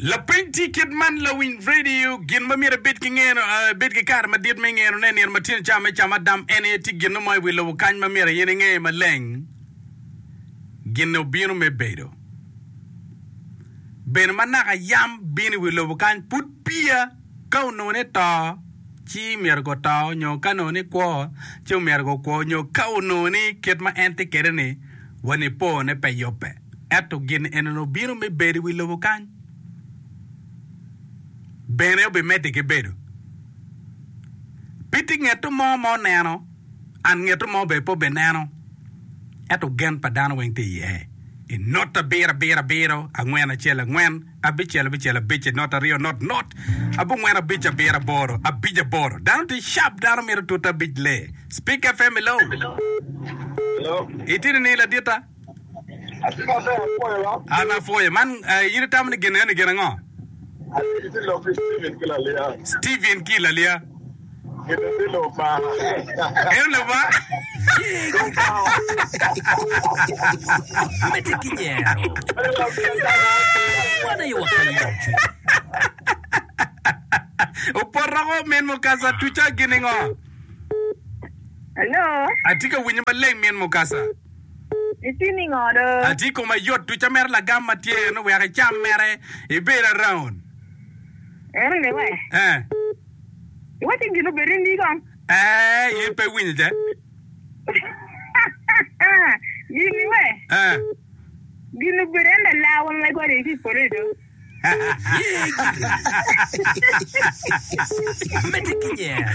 Lapeny tye kit man, Lawiny radio, gin ma myero ibed ki ngeno, ibed ki kare madit me ngeno ne nino ma tyen ca me camo adam en aye tye gin mo i wi lobo kany ma myero in inge maleng. Gin obino me bedo. Bene ma naka yam bino i wi lobo kany pud peya ka onongo ni to ci myero guto nyo ka onongo ni kwo ci myero gukwo nyo ka onongo ni kit ma en tye kwede ni wa nipo ne pe yubbe. Ento gin enoni obino me bedo i wi lobo kany, bene obimedde ki bedo. Pe tye ngetto mo ma oneno, an ngetto mo bene pe obineno, ento gen pa dano weng tye iye. I not abiro abiro abiro, angwen acel angwen, abicel abicel abic, i not aryo not not, abongwen abic abiro aboro, abic aboro. Dano tye sharp, dano mito tute abic lee. Speak FM, hello. Hello. Itye nining laditta? Atye maber, apwoyo wa. An apwoyo. Man, eh, in itamo ni gin eni gin ango? Atye ki lok ki Steven ki Lalia. Steven ki Lalia. Gin tye Lubanga. En Lubanga. Medde ki nyero. Wan aye wakelo yomcwiny. Oporoko min mukasa tuca gin ingo? Hello. Atye ka winyo maleng min mukasa. Itye ningo do? Atye i koma yot tuca mere lagam ma tye eno wek icam mere ibed around. Eno ni we. Eh. Iwaci gin obed ni kong. Eh, in pe iwinyo ce? Gin ni we. Eh. Gin obedo en lalawa ma igwado ki i polo do. Ye giri. Medde ki nyero.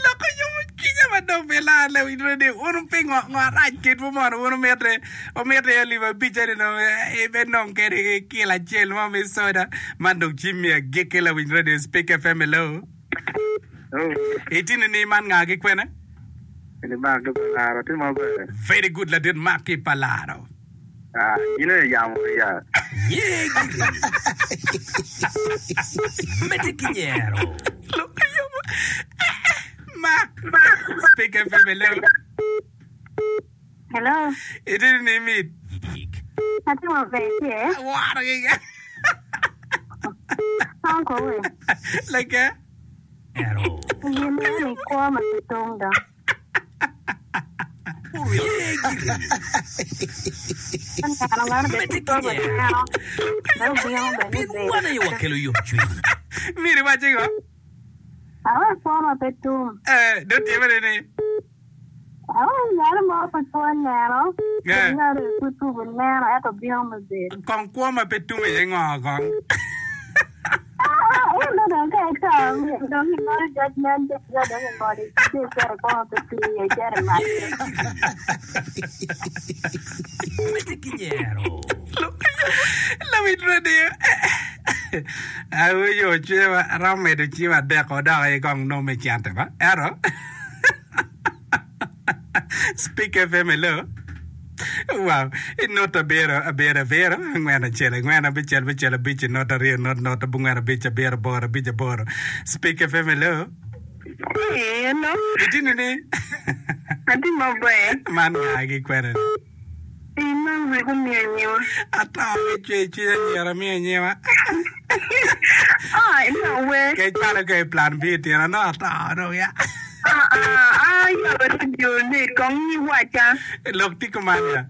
Lok oyomo cwinya ma dong pe lar lewiny redi wun pingo ngo arac kedwu mono wun wumite wumite alip abic eni dong ibe nong kede ki kilo acel mo me soda man dong cim mi agikki lawiny radio speak fm hello itini ni man nga ki kwene Ini Mark ki Palaro tye maber. Very good ladit Mark ki Palaro. Ah, in aye yamo ya. Ye giri. Medde ki nyero. Mark. Speak FM hello. Hello. Itini ni mit. Atye maber tye. Aworo giga. Uncle we. Like. Gin meno i kwo ma pe tum dok. Wan aye wakelo yomcwiny. Miri iwaco ngo? Awe kwo ma pe tum. Eh, dong tye mere ni. Awe ngat mo pe kwo neno, Eh. ngat pud tubo neno ento bino me bedo. Kong kwo ma pe tum aye ngo kong? Ah, ento dong ka ito, dong ingolo judgment day ka dong ingolo ci icito i kwo ma pe tum iye icito i mac. Medde ki nyero. Lawiny radio. Awinyo cwinya aromo medo cim adek-ko dok aye kong nongo me cente ba. Ento Speak FM, hello. Wow. Inot abiro, abiro, abiro, angwen, acel, angwen, abicel, abicel, abic, inot aryo, inot, not, abongwen, abic, abiro, aboro, abic, aboro. Speak FM, hello. Hey, hello. Itye ni? Atye maber. Man nga ki kwene ni? In ma wek omiyo nyiwa. Ato ki cwer cwiny anyira miyo nyiwa. Ah, ina we. Ke cwalo ke i plan B tyen ano ato dong ya. Ah, ah, ah, yabo radio ni kong ni waca. Lok tye kuman ya.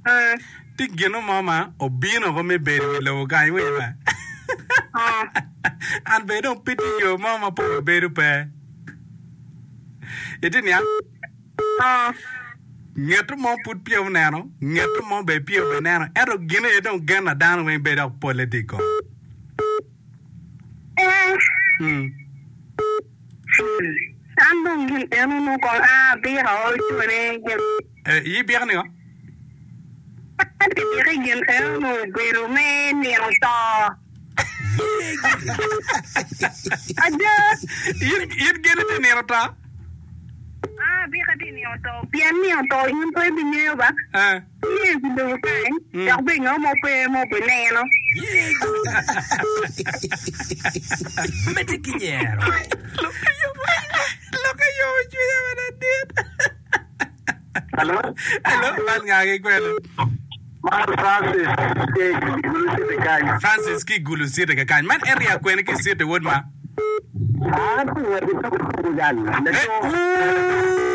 Eh. Tye gino mo ma obino ko me bedo i lobo kany iwinyo ba? Ah. An bene dong pe tye yo mo ma pol bedo pe. Itye niang? Ngeto mo pud peya oneno, ngeto mo bene peya obeneno, ento gin aye dong gen na dano weng bedo dok polle tye i kome. Mm. An dong gin eno nongo kong a abika o cone gin. Eh, iyi bika ningo? An bika gin eno nongo obedo me nino to. Ada. In, in gin ite nino to? A bika tye nino to, pien nino to in pe ibingeyo ba. Eh. Tye i lobo kany, dok bene ngat mo pe ma obineno. Medde ki nyero. Lokke yomo cwinya madit. Hello? Hello, man nga ki kwene? Man Francis tye i Gulu City kany. Francis ki i Gulu City kakany. Man area kwene ki i city wod ma? An atye ka wot ki tukutuku jal. Eh,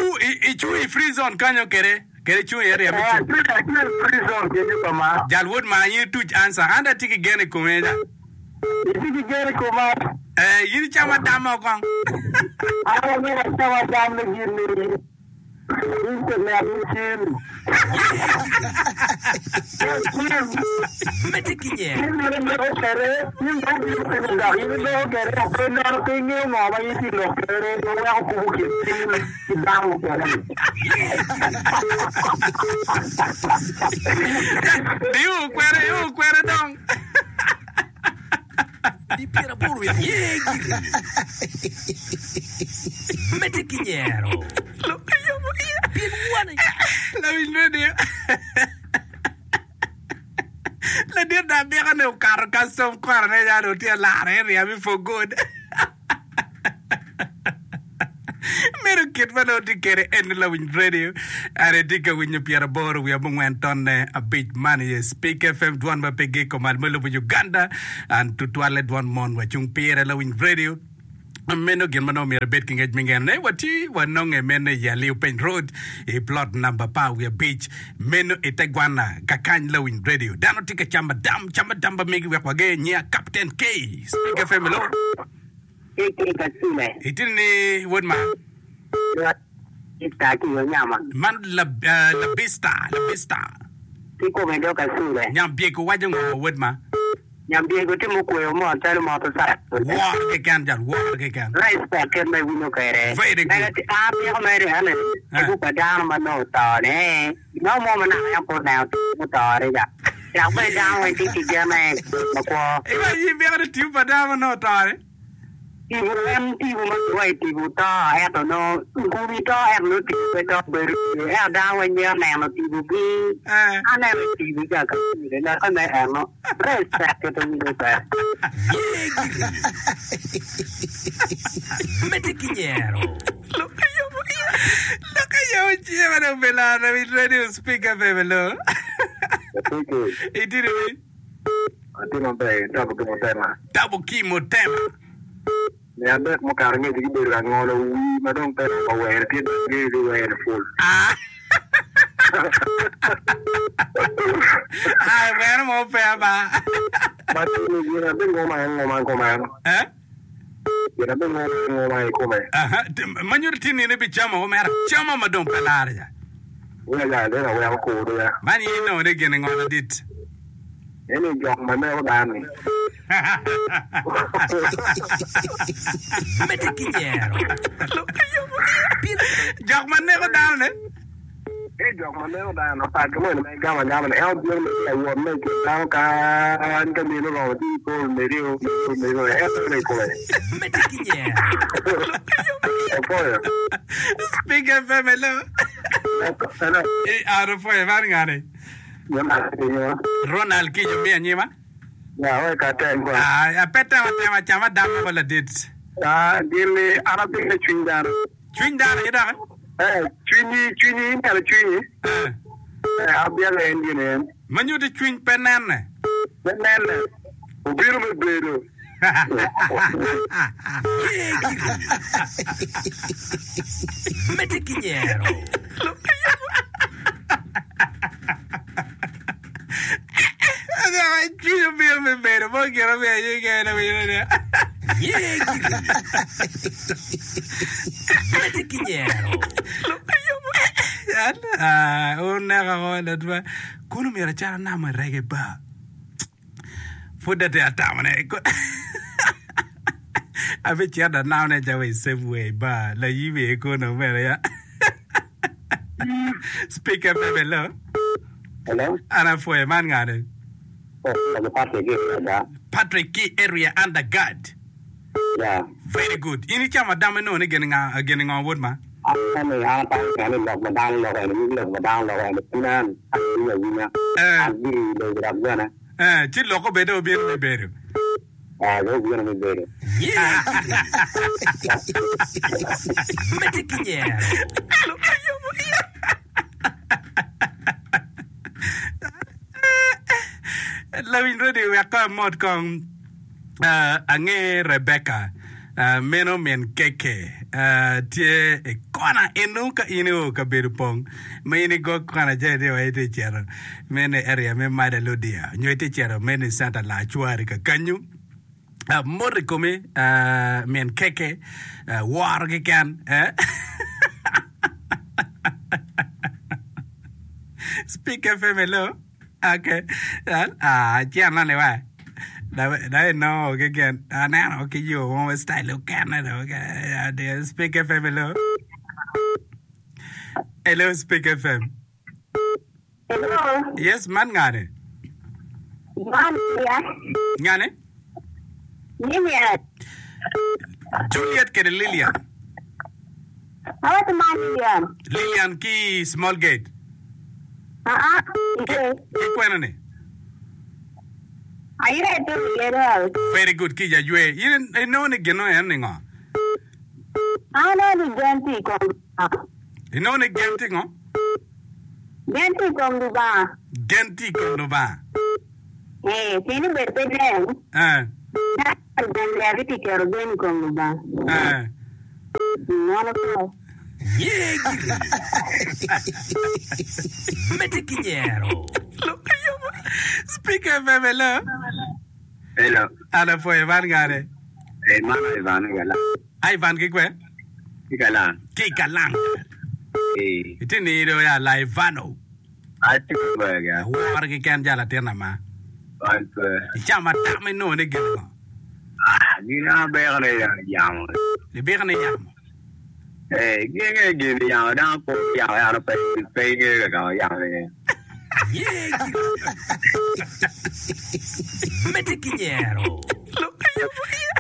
ooh, i icung i free zone kanyo kede? Kede icung i area me Eh, cung? atye atye i free zone kenyo pa ma. Jal wod ma, in ituc answer. An dong atye ki gen i komi ja. Itye ki gen i koma? Eh, in icamo adam mo kong. An amito acam adam me gin ni. Medde ki nyero. Iu kwede, iu kwede dong. Di pyeraboro wiye aye gire. Medde ki nyero. Pien wan aye. Lawiny radio. Ladit da abika ne okato custom kora ne yani otye lare area me for good. Meno kit ma nongo tye kwede eni lawiny radio an itye ka winyo pyeraboro wiye abongwen tonne abic man iye Speak FM dwon ma pe giko mal me lobo Uganda an tutwalle dwon mon wacung pire lawiny radio meno gin ma nongo myero ibed ki ngec me ngene watye wanonge meno i Aliu Peny Road i plot namba apar wiye abic meno i te gwana kakany lawiny radio dano tye ka camo adam camo adam ba megi wek wage nyiya Captain K Speak FM hello Itino ni wod ma? Man Labista, Labista. Nyambyego waco ngo wod ma? Woro keken jal, woro keken. Very good. Iwaco ni byeko ni tipo pa dano ma nongo oto-ni? Tipo en tipo ma kiwaco ni tipo to ento nongo kumi to ento nongo tipo pe to bedo tye ento dano weng mito neno tipogi aneno tipo ca ka pire lokke me eno respect kit owinjo kwede. Ye gire. Medde ki nyero. Lok aye ocima dong pe laro i radio speaker bebe lo. Itino ni. Atye maber, Tabo ki Mutema. Tabo ki Mutema. Me adek mukato angec gibedo ka ngolo wii ma dong pe romo were tye dok ngeyo ki were pul. Ah. Ah, were mo pe aba. Ma tye ni gin abingoma angoma kumeno. Eh? Gin abingoma angoma i kome. Aha, ma nyuto tye ni in ibicamo omera camo ma dong pe lare ja. Ya ya, dong aweko kuru ya. Man in inongo ni gin ngo ladit? Eni jok ma neko dano-ni. Medde ki nyero. Jok ma neko dano-ni? Eni jok ma neko dano, pat ki moni ma igamo agama-ni, en obino me tye ka wot me i kin dano kany ka mine oromo ci ipol medo, ipol medo, en bino i kome. Medde ki nyero. Opwoyo. Speak FM, hello. Hello. Eh, an opwoyo, man ngani? Ronald Kijo miyo anyima. Ah, pe tem atema cam adam woko ladit. Cwiny dano aye doki? Eh. Ma nyuto cwiny pe nenne. Ye gire. Medde ki nyero. Cwiny obino me bedo mo gin omiyo aye kene winyo ni. Ye gire. Medde ki nyero. Ah, uneka ko latwa. Kono myero acat anamo i rege bar. Pud atye atamo ne. Abicito anamone ca wa i Safeway bar layibi kono bene ya. Speaker FM hello. Hello. An apwoyo man ngani? Oh, Patrick ki area. Patrick ki area under guard. Yeah. Very good. In icamo adam inongo ni gin nga gin ngo wod ma? An ni an atamo kene ni lok ma dano loko eni nyig lok ma dano loko eni pud an awinyo awinya. Eh. An giri lobo dok bene. Eh, ci lok obedo obino me bedo. Eh, dong obino me bedo. Ye gire. Medde ki nyero. Lawiny radio wek kong amot kong ange Rebecca meno min keke tye i kona eno ka in io kabedo pong ma in igo kona ca itye wa itye cito meno i area me Mada Ludia nyo itye cito meno i center Lacwari kakanyu. Mot i komi min keke woro keken eh. Speak FM hello. Okay. Ah, cen ni wa. Da inongo keken. Aneno ki yo mo style okene do. Speak FM hello. Hello Speak FM. Hello. Yes, man ngane? Man ya. Ngane? Lilian. Juliet kede Lilian. Awaco man Lilian. Lilian ki Small Gate. Aa, Ki, ki kwena ni? Ayre to gedo house. Very good ki jajwe. In inongo ni gino en ni ngo? Aneno ni gen tye i kom Lubanga. Inongo ni gen tye ngo? Gen tye i kom Lubanga. Gen tye i kom Lubanga. Ee, pien ni bedo pe nen. Eh. Dano gen ber ki tye keto gen i kom Lubanga. Eh. Meno pe. Ye giri. Medde ki nyero. Speak FM, hello. Hello. An apwoyo man ngane. Eh, man Ivan ki Galang. Ivan ki kwe? Ki Galang. Ki Galang. Eh. Iti nido ya la Ivano. Atye ka gwe ga. Aworo keken ja latin ama. An pe. Icamo atam inongo ni gin ngo? Ah, gin abeko ni yamo. Ibiko ni yamo. Eh, gin nge gin yamo dano po yamo yamo pe pe ingeyo ka kama yamo iye. Ye giri. Medde ki nyero.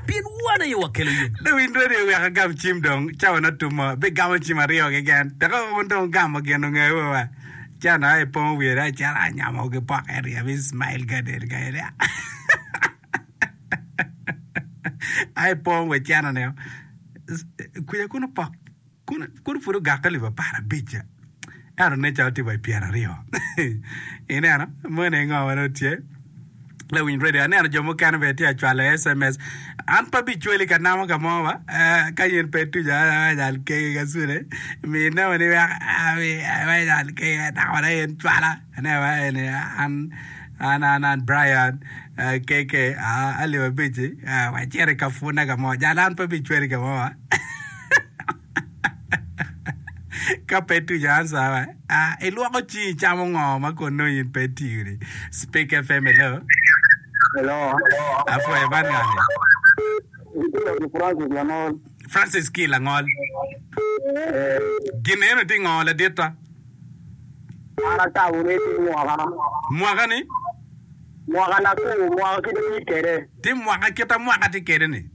Pien wan aye wakelo yomcwiny. Lawiny radio wek agam cim dong cawa na tumo bigamo cim aryo keken dok wun dong wugamo gin ongewu wa ca dong aye pongo wiye dong acito anyamo ki pok area me Smile Garden ka eni aye pongo wa cene ni kwica kunu pok Kono pud ogakke alip aparabic ca, ento nen calo tye wa i pyeraryo. Ineno? Meno aye ngo ma nongo tye. Lawiny radio, aneno jo mukene bene tye ka cwalo SMS. An pe abicwali ka namo ka mo ba, eh, ka in pe ituco anyal keki ka cune, mi namo ni wek anyal keki namo na in cwala. Aneno ba eni an an an an Brian KK alip abic-ci, wacito i ka pwonne ka mo. Jal an pe abicwali ka mo ba. Ka pe ituco ansa wa, ah, ilwoko cingi icamo ngo ma kun nongo in pe itiyo ni. Speak FM, hello. Hello. Apwoyo man ngani? Itye ki Francis Langol. Francis ki Langol. Eh. Gin eno tye ngo laditta? An atamo ni tye mwaka. Mwaka ni? Mwaka nakur, mwaka kite tye kwede. Tye mwaka kita mwaka tye kwede ni.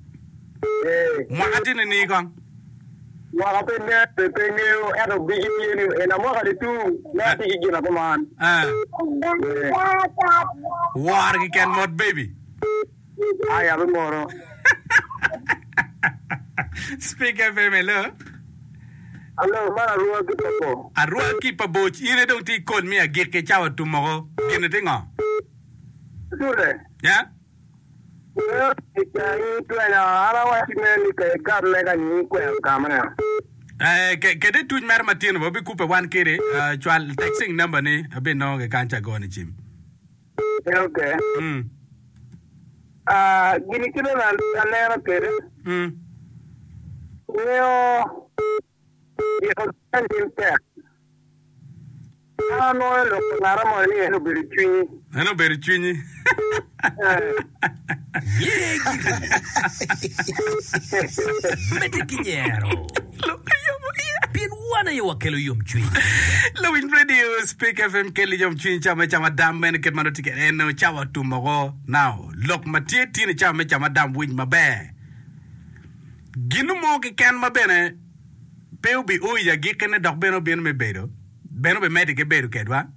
Mwaka tye nining kong? Mwaka pe nen pe pe ngeyo ento biki tye ni ena mwaka ni tung me atye ki gin akuman. Woro kiken mot baby. Aya abimoro. Speak FM hello. Hello, man Arua ki pa bor. Arua ki pa bor in aye dong tye i kol me agikki cawa otum woko. Gin-ni tye ngo? Sule. Yeah. Kede tuc mere matino bene wabikubbe wan kede. Cwal texting number ni abinongo ki kany ca agoni cim. An anwoyo lok pa ngat moni ni en obedo cwinyi. En obedo cwinyi. Ye giri. Medde ki nyero. Pien wan aye wakelo yomcwiny. Lawiny Radio Speak FM keli yomcwiny cawa me camo adam meno kit ma nongo tye kwede en nongo cawa otum woko. Now lok ma tye tye ni cawa me camo adam winy maber. Gin mo keken ma bene pe obio i agikkine dok bene obino me bedo, bene obimedde ki bedo kedwa.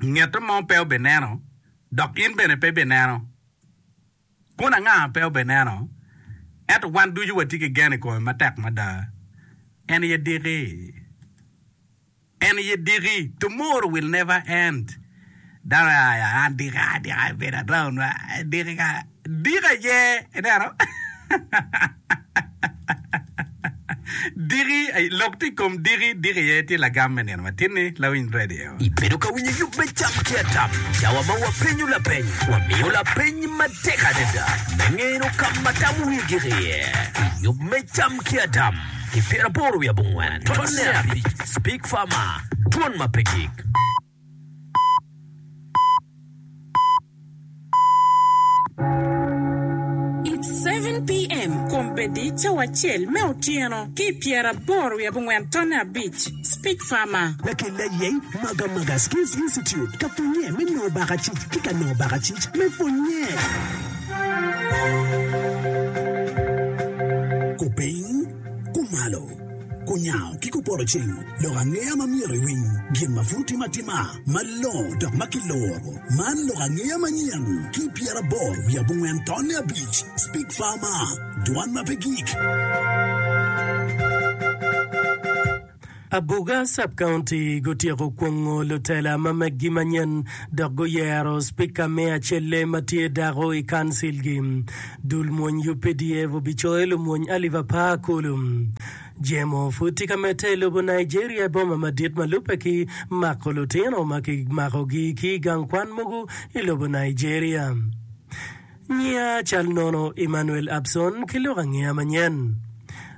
Nget mo pe obineno, dok in bene pe ibineno. Kun anga pe obineno, ento wan ducu watye ki gen i kome matek mada. En aye diki. En aye diki. Tomorrow will never end. Dano aya an dika dika abedo around wa diki ka diki aye ineno diki lok tye i kom diki diki aye tye lagam me nino matin-ni lawiny radio. Ibedo ka winyo yub me Cam ki Atam, cawa ma wapenyo lapeny, wamiyo lapeny matek adada me ngeno ka ma tam wiye gik iye. I yub me Cam ki Atam, ki pyeraboro wiye abongwen, tonne abic, Speak Farmer, Dwon ma pe gik. It's 7 PM, Kombeddi cawa acel me otyeno ki i pyeraboro wiye abongwen tonne abic. Speak Farmer. Lakel layeng Magamaga Skills Institute ka pwonye me nongo bakacic ki ka nongo bakacic me pwonye. Kupiny, kumalo, kunyango ki kupoto ceng, lok angeya ma myero iwiny, gin ma pud timo atima, malongo dok ma kiloro. Man lok angeya manyen ki pyeraboro wiye abongwen tonne abic, Speak Farmer, Dwan ma pe gik. Abuga Sub-County gutyeko kwongo lutela ma meggi manyen dok guyero Spika me acelle ma tye dako i kancilgi. Dul mwony UPDF obicoyo lumwony alip apar kulu. Jemo pud tye ka medde i lobo Nigeria i boma madit ma lubbe ki mako lutino ma kimakogi ki i gang kwan mogo i lobo Nigeria. Nyiya cal nono Emmanuel Abson ki lok angeya manyen.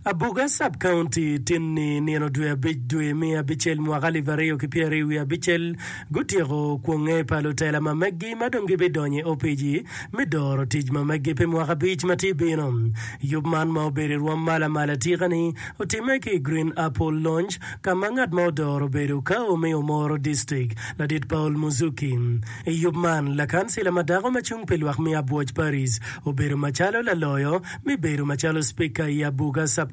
Abuga Sub County tinni nino dwe abic dwe me abicel mwaka alip aryo ki pyeraryo wiye abicel gutyeko kwonge pa lutela ma meggi ma dong gibidonyo i opici me doro tic ma meggi pi mwaka abic ma tye bino. Yub man ma obedo i rwom ma lamal atika-ni otimme ki i Green Apple Lounge ka ma ngat ma odoro obedo Kao me Omoro District, Ladit Paul Muzuki. I yub man, lakancila ma dako ma cung pi lwak me Abwoc Paris obedo macalo laloyo me bedo macalo Spika i Abuga Sub-County.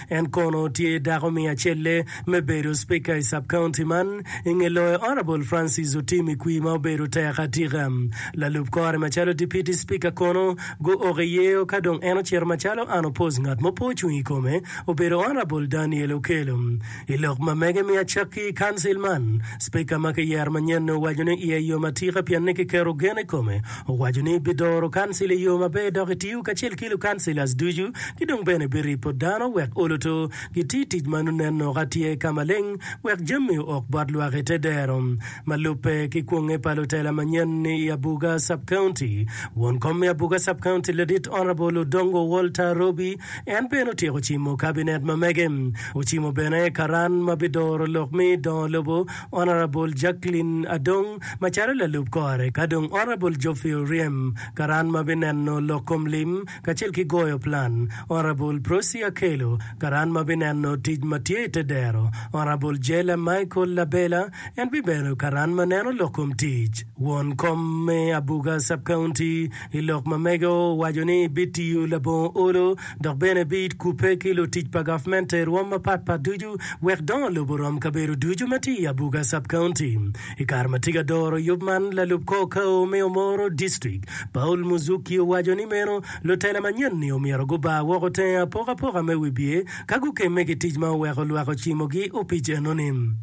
En kono tye dako me acelle me bedo Spika i Sub-County man i nge loyo Honourable Francis Otim Ikwi ma obedo tek atika. Lalub kore macalo Deputy Spika kono guok i yeo ka dong en ocito macalo unopposed ngat mo pe ocung i kome obedo Honourable Daniel Okello. I lok ma mege me acakki i kancil man, Spika ma kiyero manyen-ni owaco ni iye yom atika pien ni kiketo gen i kome. Owaco ni bidoro kancil i yo maber dok etiyo kacel ki lukancilas ducu ki dong bene biripo dano wek oloto giti tic ma nongo nen noka tye ka maleng wek jami ook bot lwak i te dero. Ma lubbe ki kwonge pa lutela manyen-ni i Abuga Sub-County, won kom me Abuga Sub-County Ladit Honourable Odongo Walter Robi En bene otyeko cimo kabinet ma mege. Ocimo bene karan ma bidoro lok me dongo lobo, Honourable Jacqueline Adong macalo lalub kore, ka dong Honourable Geoffrey Oryem, karan ma bineno lok kom lim kacel ki goyo plan, Honourable Prossy Akello, karan ma bineno tic ma tye i te dero, Honourable Jella Michael Labela, en bibedo karan ma neno lok kom tic. Won kom me Abuga Sub-County I lok ma mege owaco ni bitiyo labongo olo dok bene bikubbe ki lutic pa gavmente i rwom mapat pat ducu wek dongo lobo orom kabedo ducu ma tye i Abuga Sub-County. I kare ma tye ka doro yub man, lalub kor kao me Omoro District, Paul Muzuki owaco ni meno lutela manyen-ni omyero gubar woko tenge apokapoka me wibye ka gukemme ki tic ma oweko lwak ocimogi opic enoni.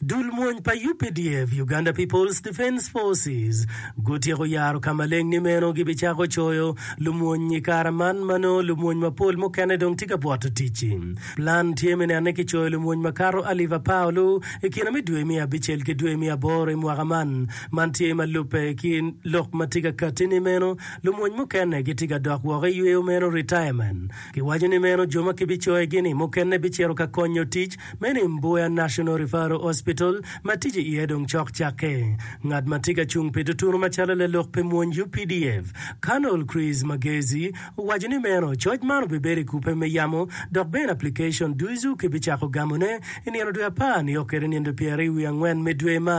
Dul mwony pa UPDF, Uganda People's Defence Forces, gutyeko yaro ka maleng ni meno gibicako coyo lumwony i kare man ma nongo lumwony mapol mukene dong tye ka bwoto tic-ci. Plan tye me neno ni kicoyo lumwony makato alip apar olu i kine me dwe me abicel ki dwe me aboro i mwaka man. Man tye ma lubbe ki lok ma tye ka katti ni meno lumwony mukene gitye ka dok woko i yweyo meno, retirement. Kiwaco ni meno jo ma kibicoyogi-ni mukene bicito ka konyo tic Meno i Mbuya National Referral Hospital ma tic iye dong cok cakke. Ngat ma tye ka cung pi tutunu macalo lalok pi mwony UPDF, Colonel Chris Magezi, owaco ni meno coc man obibedo i kubbe me yamo dok bene application ducu kibicako gamone i nino dwe apar nio kwede nino pyeraryo wiye angwen me dwe man.